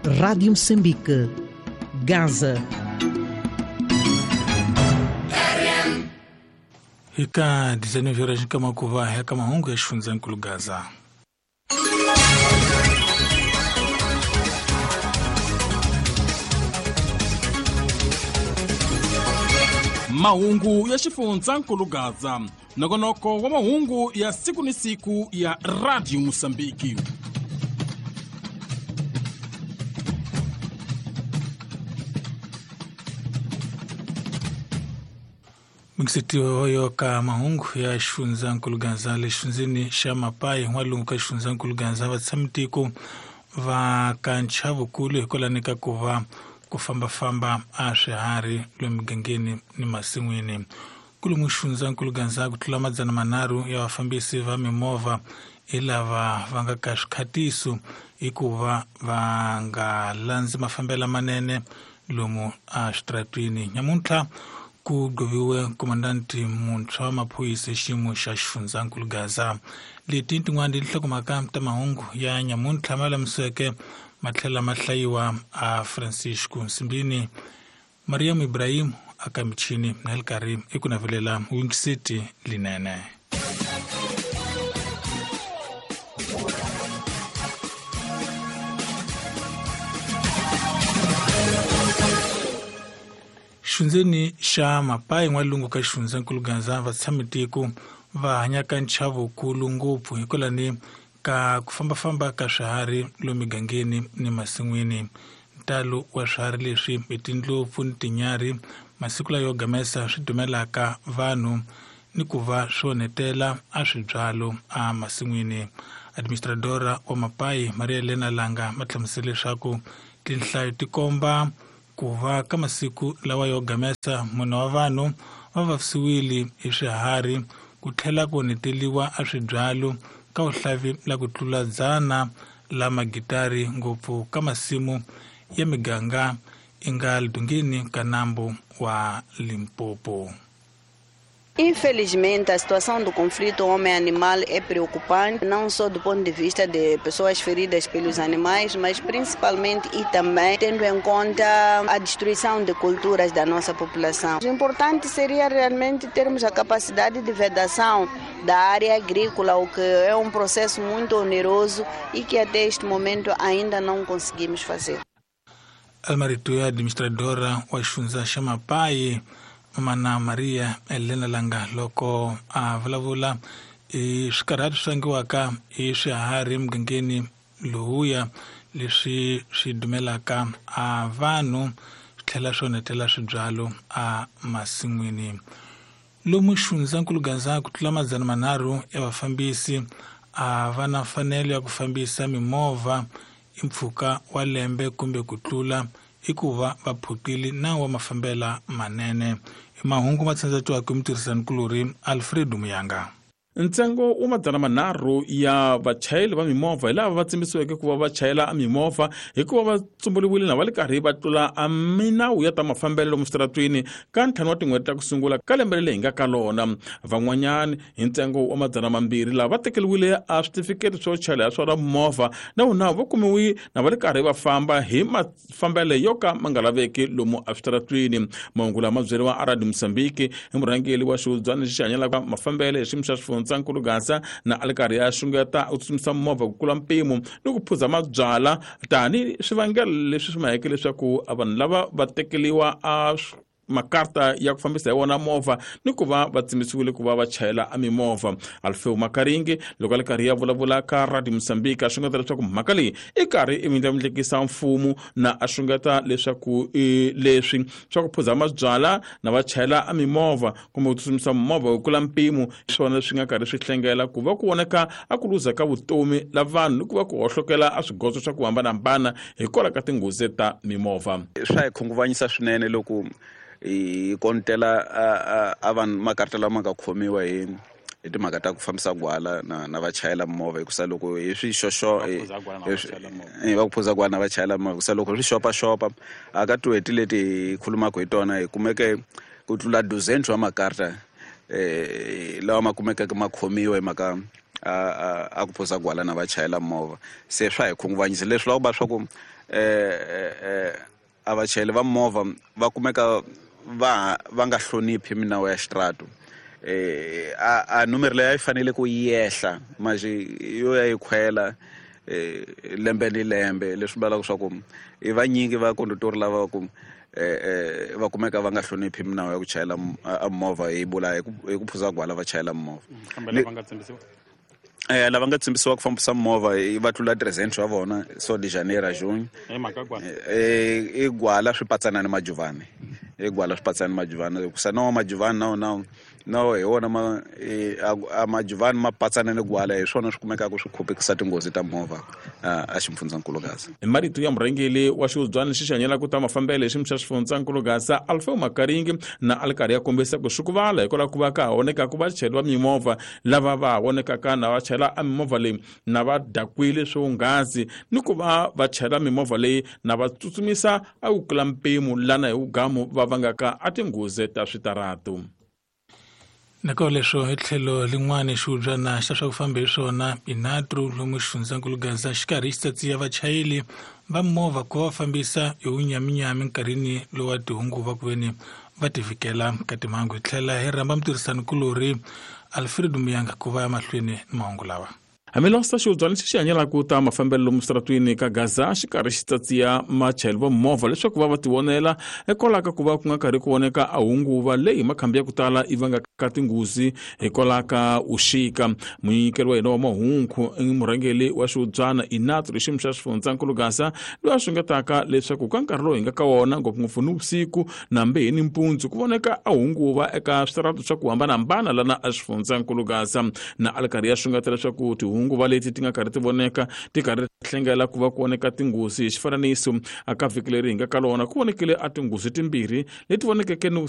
Rádio Moçambique, Gaza. Eka 19 horas nkamakuva ya kamahungu ya xifundzankulu Gaza. Mahungu ya xifundzankulu Gaza, nongonoko wa mahungu ya siku ni siku ya Radio Mosambiki. Mxitiwa hoyo ka mahungu ya xifundzankulu Gaza le xifundzeni xa Mapai n'walungu ka xifundzankulu Gaza va tshamitiko va ka nchavukulu hikwalani ka ku va ku fambafamba a swiharhi lomu migangeni ni masin'wini. Kulumu xifundzankulu Gaza ku tlula 300 ya vafambisi va mimovha hi lava va nga ka swikhatiso hikuva va nga landzi mafambelo manene lomu a switaratwini. Nyamuntlha ku gqoviwe komandanti muntshwa wa maphorisa xiyimo xa xifundzankulu Gaza. Leti tin'wana tinhlokomhaka ta mahungu ya nyamuntlha ma lamiseke ma tlhela ma hlayiwa a Francisco Nsimbini, Mariam Ibrahim aka michini na le karhi i ku navelela Wing City linene. Xundzeni xa Mapai n'walungu ka xifundzankulu Gaza va tshamitiko va hanyaka nchavukulu ngopfu hikwalani ka ku fambafamba ka swiharhi lomu migangeni ni masin'wini. Ntalo wa swiharhi leswi hi tindlopfu ni tinyarhi masiku layo gamesa swi dumelaka vanhu ni ku va swi onhetela a swibyalo a masin'wini. Administradora wa Mapai Maria Elena Langa ma hlamusela leswaku tinhlayo ti komba ku va ka masiku lawa yo gamesa munhu wa vanhu va vavisiwile hi swiharhi ku tlhela ku onheteliwa a swibyalo ka vuhlavi la ku tlula 100 la magitari ngopfu ka masimu ya miganga i nga lidungeni ka nambu wa Limpopo. Infelizmente, a situação do conflito homem-animal é preocupante, não só do ponto de vista de pessoas feridas pelos animais, mas principalmente e também tendo em conta a destruição de culturas da nossa população. O importante seria realmente termos a capacidade de vedação da área agrícola, o que é um processo muito oneroso e que até este momento ainda não conseguimos fazer. Almarito ya administradora wa xifundza xa Mapai Mana Maria Elena Langa loko a vulavula i swikarhati swi vangiwaka hi swiharhi emugangeni lowuya leswi swi dumelaka a vanhu swi tlhela swi onhetela swibyalo a masin'wini. Lomu xifundzankulu Gaza ku tlula 300 ya vafambisi a va na mfanelo ya ku fambisa mimovha i mpfhuka wa lembe kumbe ku tlula hikuva va phukile nawu wa mafambela manene. I mahungu ma tsandzatiwaka hi mutirhisanikulorhi Alfredo Muyanga. Ntsengo wa 300 ya vachayeri va mimovha hi lava va tsimbisiweke ku va va chayela mimovha hikuva va tsumburiwile na va le karhi va tlula a minawu ya ta mafambelo lomu switaratwini ka 5 wa tin'hweti ta ku sungula ka lembe leri hi nga ka lona. Van'wanyani hi ntsengo wa 200 lava va tekeriwile a switifiketi swo chayela ya swona movha na wona va kumiwi na va le karhi va famba hi mafambelo yo ka ma nga laveki lomu eswitaratwini. Mahungu lama byeriwa a Radio Mozambique hi murhangeri wa xihubyana lexi hanyelaka mafambelo hi xiyimo xa xifundzankulu Gaza na a le karhi ya xungeta u tsutsumisa movha ku kula mpimo ni ku phuza mabyala tani swivangelo leswi swi maheke leswaku vanhu lava va tekeriwa a makarta ya ku fambisa hi wona movha ni ku va va tsimbisiwile ku va va chayela a mimovha. Alfeo Makaringi loko a le karhi ya vulavula ka Radio Mozambique a xungeta leswaku mhaka leyi i karhi i vindlavindlekisa mfumo na a xungeta leswaku leswi swa ku phuza mabyala na va chayela a mimovha kumbe ku tsutsumisa movha ku kula mpimo swona leswi nga karhi swi hlengela ku va ku voneka a ku luza ka vutomi la vanhu ni ku va ku hohlokela a swigodzo swa ku hambanahambana hikwalaho ka tinghozi ta mimovha. Swa hi khunguvanyisa swinene loko hi kontela a vanhu makarta lama nga khomiwa hi timhaka ta ku fambisa gwala na va chayela movha hikusa loko hi swi xoxo va ku phuza gwala na va chayela movha hikusa loko swi xopaxopa a ka tin'hweti leti hi khulumaka hi tona hi kumeke ku tlula 12 wa makarta lawa ma kumekeke ma khomiwa hi mhaka a ku phuza gwala na va chayela movha. Se swa hi khunguvanyisa leswi loko va swa ku a vachayeri va movha va kumeka va nga hloniphi minawu ya xitrato. A numero leyi a yi fanele ku yehla manje yo ya yi khwela lembe ni lembe, leswi vulaka swa ku i vanyingi va kondotori lava ku va kumeka va nga hloniphi minawu ya ku chayela a movha, hi vula hi ku phuza gwala va chayela movha. Kambe lava nga tsimbisiwa? Lava nga tsimbisiwa ku fambisa movha va tlula 300 wa vona, so de janeiro a junho. Hi mhaka gwala? I gwala swi patsana ni majuvani, i gwala swi patsana ni majuvani, hikusa na wa majuvani na hi wona a majuvani ma patsana ni gwala, hi swona swi kumekaka swi khupekisa tinghozi ta movha a xifundzankulu Gaza. Hi marito ya murhangeri wa xihubyana lexi xi hanyelaka ta mafambelo hi xiyimo xa xifundzankulu Gaza, Alfeo Makaringi, na a ri karhi ya kombisa ku swi ku vala hikwalaho ku va ka ha vonekaka vachayeri va mimovha lava va ha vonekaka na va chayela a mimovha leyi na va dakwile swonghasi, ni ku va va chayela mimovha leyi na va tsutsumisa a ku kula mpimo lana hi vugamu va vangaka a tinghozi ta switaratu. Nako leswo hi tlhelo lin'wana xihubyana xa swa ku famba hi swona inatru lomu xifundzankulu Gaza xi karhi xi tsatsiya vachayeri va movha ku va fambisa hi wunyaminyami nkarhini lowa tihunguva ku veni va tivikela ka timhangu. Hi tlhela hi rhamba mutirhisanikulorhi Alfred Muyanga ku va ya mahlweni ni mahungu lawa. Hambiloko xihubyana lexi xi hanyelaka ta mafambelo lomu switaratwini ka Gaza xi karhi xi tsatsiya machayeri va movha leswaku va va tivonela hikwalaho ka ku va ku nga karhi ku voneka a hunguva leyi makhambi ya ku tala yi vangaka tinghozi hikwalaho ka vuxika. Munyikeri wa hina wa mahungu i murhangeri wa xihubyana Inatru xiyimo xa xifundzankulu Gaza, loyi a xungetaka leswaku ka nkarhi lowu hi nga ka wona ngopfungopfu ni vusiku nambe hi nimpundzu ku voneka a hunguva eka switaratu swa ku hambanahambana lana a xifundzankulu Gaza, na a ri karhi ya xungeta leswaku tihunguva leti ti nga karhi ti voneka ti karhi hlengela ku va ku voneka tinghozi. Hi xifananiso, aka vhiki leri hi nga ka lona ku vonekile a tinghozi timbirhi leti vonekeke ni